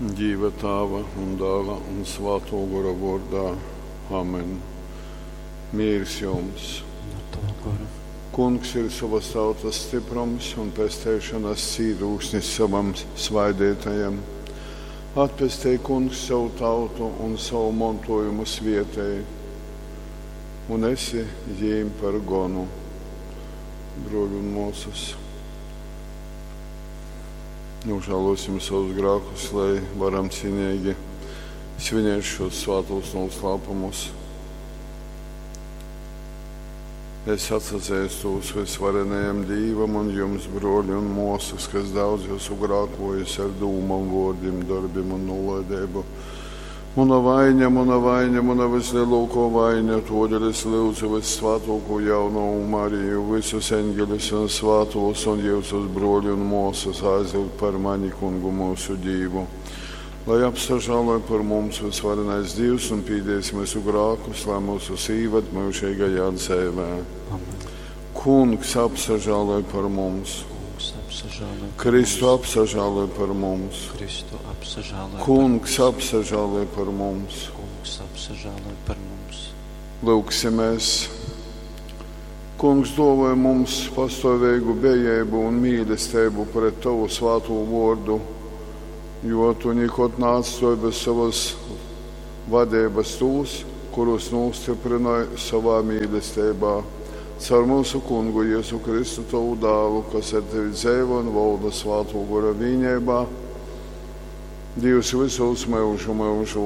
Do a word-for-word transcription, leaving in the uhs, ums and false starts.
Dīva Tāva un Dāla un Svātō Gora vōrdā. Amen. Mīrs jums! Un ar tavu goru. Kungs ir sovas tautas stiprums un pesteišonas cītūksnis sovam svaideitajam. Atpestej, Kungs, sovu tautu un sovu montojumu svietej, un esi jīm par gonu. Bruoļi un muosys, nožēlosim savus grēkus, lai varam cienīgi svinēt šos svātos noslēpumus. Es atsazīstos visvarenajam Dīvam un jums, broļi un muosas, kas daudz esmu grēkojis ar dūmām, vārdiem, darbiem un nolaidību. Muna vaiņa, muna vaiņa, muna vislielākā vaiņa, todēļ es lūdzu vissvētāko jaunavu Mariju, visus eņģeļus un svētos un jūsus broļi un muosas aizlūgt par mani kungu mūsu Dīvu. Lai apsažāloj par mums visvarenais Dievs un pīdēs mūsu grākus, lai mūsu īvad mūžīgajā dzīvē. Amen. Kungs apsažāloj par mums, Kungs apsažāloj par Kristu mums. apsažāloj par mums, Kristu apsažāloj par Kungs mums. apsažāloj par mums. Kungs apsažāloj par mums. Lūksimies! Kungs dāvāja mums pastāvīgu bejību un mīlestību pret Tavu svāto vārdu, jo Tu nekad neatstāji bez savas vadības tos, kurus nostiprināji savā mīlestībā. Caur mūsu kungu Jēzu Kristu, Tavu dēlu, kas ar Tevi dzīvo un valda svāto gora vienībā, Dievs visos mūžu mūžos.